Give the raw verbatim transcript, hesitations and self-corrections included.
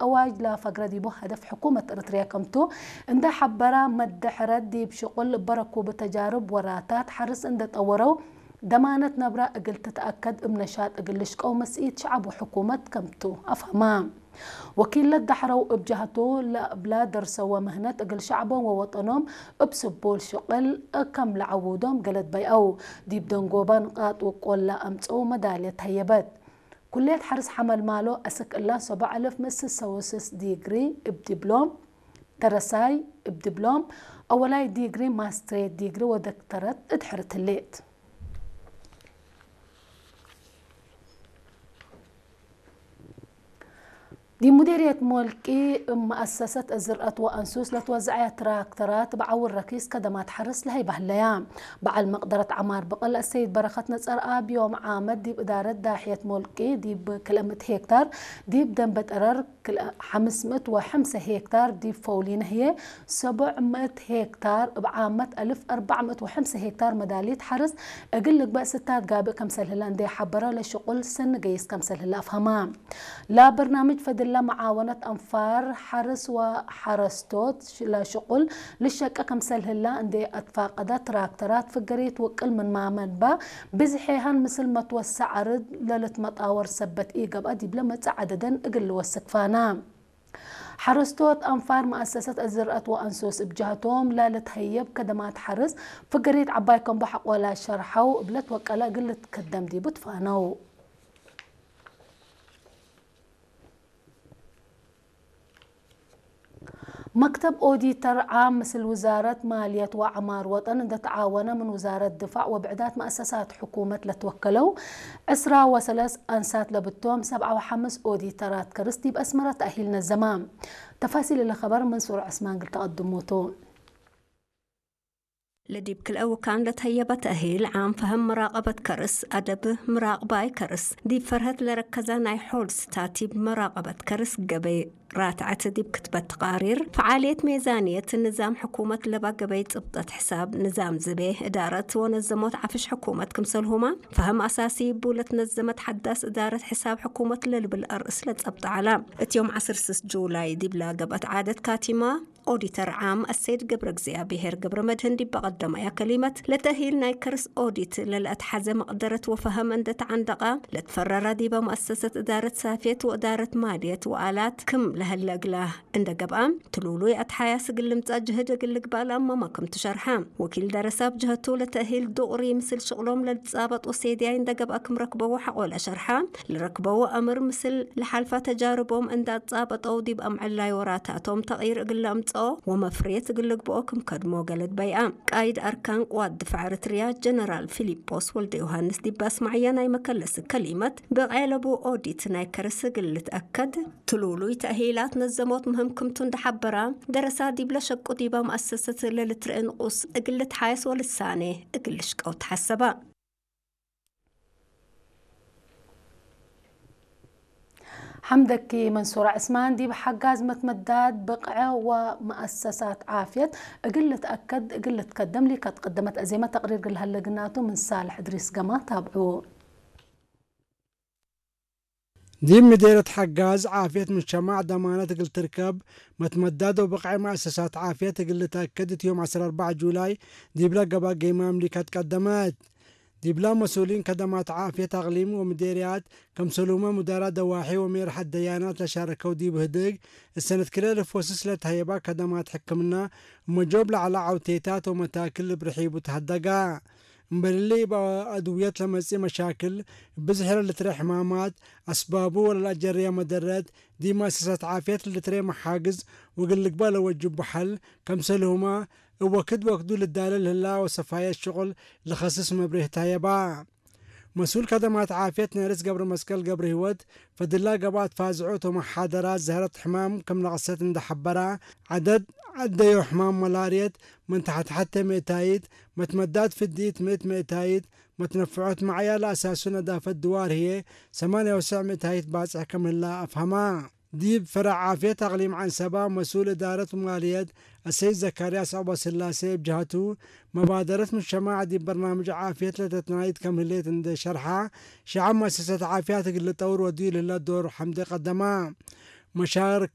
አዋጅ ለፈግረ ዲቡ ሀደፍ ሕኩመት ኤረትርያ ከምቱ እንዴ ሐበራ፣ መደሐረት ዲብ ሽቁል እበ ረኩብ ተጃርብ ወራታት ሐርስ እንዴ ጠወረው፣ ደማነት ነብራ እግል ትትአከድ እብ ነሻጥ እግል ልሽቀው መስኢት ሸዐብ ወሕኩመት ከምቱ አፍሀማ። ወኪል ለደሐረው እብ ጀህቱ፣ ለእብላ ደርሰወ ምህነት እግል ሸዐቦም ወወጠኖም እብ ስቡል ሽቅል ከም ለዐውዶም ገለድ በይአው። ዲብ ደንጎባ ንቃጥ ውቆል ለአምጽኡ መዳልየት ተሀየበት። ኩልየት ሐርስ ሐመልማሎ አስክ እላ ሰቦዕ አልፍ ምስል ሰውስስ ዲግሪ እብ ዲብሎም፣ ደረሳይ እብ ዲብሎም፣ አወላይ ዲግሪ፣ ማስትሬት ዲግሪ ወደክተረት እድሕር ትሌት። ዲብ ሙዴርየት ሞልቂ፣ እብ መአሰሰት ዝርአት ወአንሱስ ለትወዘዐየ ትራክተራት እብ ዐውር ረኪስ ከደማት ሐርስ ለሀይበ ህለያ። በዐል መቅደረት ዐማር ብቅል አሰይድ በረኸት ነጸርአብ ዮም ዓመት ዲብ እዳረት ዳሕየት ሞልቂ ዲብ ክልኤ ምእት ሄክታር፣ ዲብ ደንበ ጠረር ክልኤ ሐምስ ምእት ወሐምሰ ሄክታር፣ ዲብ ፈውሊነ ህዬ ሰቦዕ ምእት ሄክታር፣ እብ ዓመት አልፍ አርበዕ ምእት ወሐምሰ ሄክታር መዳሊት ሐርስ እግል ልግበእ ስታት ጋብእ ከምሰል ህለ እንዴ ሐበረ፣ ለሽቁል ሰኒ ገይስ ከምሰል ህለ አፍሀማ። ለበርናምጅ ፈድለ መዓወነት አንፋር ሐርስ ወሐረስቶት ለሽቁል ልሸቄ ከምሰል ህለ እንዴ አትፋቀደ፣ ትራክተራት ፍገሪት ውቅል ምንማመ እንበ ብዝሔሀን ምስል መትወሰዕ አርድ ለልትመጣወር ሰበት ኢገብአ፣ ዲብለ መጽእ ዐደደን እግል ልወስክ ፋና። ሐረስቶት አንፋር መአሰሰት ዝርአት ወአንሱስ እብ ጀህቶም፣ ለልትሀየብ ከደማት ሐርስ ፍገሪት ዐባይ ከምቦ ሐቆላ ሸርሐው፣ እብ ለትወቀለ እግል ልትከደም ዲቡ ትፋነው። መክተብ ኦዲተር ዓም ምስል ውዛረት ማልየት ወዐማር ወጠን እንዴ ተዓወነ፣ ምን ውዛረት ድፋዕ ወብዕዳት መአሰሳት ሕኩመት ለትወከለው ዕስራ ወሰለስ አንሳት ለብቶም ሰብዓ ወሐምስ ኦዲተራት ከርስ ዲብ አስመረ ተእሂል ነዘማ። ተፋሲል እለ ኸበር መንሱር ዐስማን እግል ተቀድሙ ቱ። ለዲብ ክልኤ ውካን ለተህየበ ተእሂል ዓም ፈህም መራቀበት ከርስ፣ አደብ ምራቅባይ ከርስ፣ ዲብ ፈርሀት ለረከዘ ናይ ሖል ስታቲብ መራቀበት ከርስ ገበይ ራትዐት ዲብ ክትበት ተቃሪር፣ ፈዓልየት ሜዛንየት ንዛም ሕኩመት ለባ ገበይ ጽብጠት ሕሳብ፣ ንዛም ዝቤ፣ እዳረት ወነዘሞት ዐፍሽ ሕኩመት ክምሰልሁመ ፈህም አሳሲ እቡ ለትነዘመት ሐዳስ እዳረት ሕሳብ ሕኩመት ለልብል አርእስ ለጸብጠ ዐለ። እት ዮም ዐስር ስስ ጁላይ ዲብላ ገብአት ዓደት ካቲማ፣ ኦዲተር ዓም አሰይድ ገብረእግዚአብሔር ገብረመድህን ዲብ ቀደመያ ከሊመት፣ ለተእሂል ናይ ከርስ ኦዲት ለለአትሐዘ መቅደረት ወፈሀም እንዴ ተዐንደቀ፣ ለትፈረረ ዲበ መአሰሰት እዳረት ሳፍየት ወእዳረት ማልየት ወአላት ክም ለሀለ እግላ እንዴ ገብአ፣ ትሉሉይ አትሓያስ እግል ልምጸእ ጅህድ እግል ልግባእ ለአመመ ክም ትሸርሐ። ወኪል ደረሰ እብ ጀህቱ፣ ለተእሂል ዱቅሪ ምስል ሽቅሎም ለልትጻበጥ ወሴድያይ እንዴ ገብአ ክም ረክበዎ ሐቆለ ሸርሐ። ለረክበዎ አምር ምስል ለሐልፈ ተጃርቦም እንዴ አትጻበጠው፣ ዲብ አምዕላይ ወራታቶም ተቅይር እግል ለአምጽኦ ወመፍሬት እግል ልግብኦ ክም ከድሞ ገለድ በይአ። ቃይድ አርካን ቅዋት ድፋዕ ኤረትርያ ጀነራል ፊሊጶስ ወልደዮሃንስ ዲብ አስመዐየ ናይ መከለስ ከሊመት፣ ብቅዕ ለቡ ኦዲት ናይ ከርስ እግል ልትአከድ፣ ትሉሉይ ተእሂላት ነዘሞት ምህም ክምቱ እንዴ ሐበራ፣ ደረሳ ዲብለ ሸቁ ዲበ መአሰሰት ለልትርኤ ንቁስ እግል ልትሓየስ ወልሳኔ እግል ልሽቀው ተሐሰበ። ሐምደኪ መንሱር ዐስማን። ዲብ ሐጋዝ መትመዳድ ብቅዐ ወመአሰሳት ዓፍየት እግል ልትአከድ እግል ልትከደም ሊከት ቀደመት አዜመ ተቅሪር እግል ሀለ ግናቱ ምን ሳልሕ እድሪስ ገማ ታብዑ። ዲብ ምዴርየት ሐጋዝ ዓፍየት ሙጅተማዕ ደማነት እግል ትርከብ፣ መትመዳድ ወብቅዐ መአሰሳት ዓፍየት እግል ልትአከድ እት ዮም ዐስር ወአርበዕ ጁላይ ዲብለ ገብአ ገይም አምሊከት ቀደመት። ዲብላ መስኡሊን ከደማት ዓፍየት አቅሊም ወምዴርያት፣ ከምሰሉመ ሙዳራት ደዋሒ ወሜርሐት ደያናት ለሻረከው ዲብ ህድግ፣ እሰነት ክልኤ እልፍ ወስስ ለተሀየባ ከደማት ሕክምና፣ እመ ጆብ ለዐለ ዐውቴታት ወመታክል እብ ርሒቡ ተሀደጋ። እምበል እሊ፣ እብ አድውየት ለመጽእ መሻክል፣ እብ ብዝሕ ለልትረኤ ሕማማት፣ አስባቡ ወለለአጀርየ መደረት፣ ዲብ መአሰሳት ዓፍየት ለልትረኤ መሓግዝ ወእግል ልግበእ ለወጅቡ ሐል፣ ከምሰልሁመ፣ እብ ወክድ ወክዱ ልዳለ ለህላ ወሰፋየት ሽቁል ለኸስስ መብሬህ ተሀየባ። መስኡል ከደማት ዓፍየት ነርስ ገብረመስቀል ገብረሂወት፣ ፈድላ ገብአት ፋዝዖት ወመሓደራት ዘህረት ሕማም ክም ነቅሰት እንዴ ሐበራ፣ ዐደድ ዐደዮ ሕማም መላርየት ምን ተሐት ሐቴ ምእታይት፣ መትመዳት ፍዲት ምእት ምእታይት፣ መትነፍዖት መዕያ ለአሳሱ ነዳፈት ድዋር ህዬ ሰማንያ ወሰዕ ምእታይት ባጽሕ ክም ህላ አፍሀማ። ዲብ ፈረዕ ዓፍየት አቅሊም ዐንሰባ፣ መስኡል እዳረት ወማልየት አሰይድ ዘካርያስ ዐውበስላሴ እብ ጀሀቱ፣ መባደረት ሙጅተማዕ ዲብ በርናምጅ ዓፍየት ለተትናይድ ከም ህሌት እንዴ ሸርሐ፣ ሸዐብ መአሰሰት ዓፍያት እግል ልጠውር ወድዩ ለህለ ዶር ሐምዴ ቀደማ። መሻርክ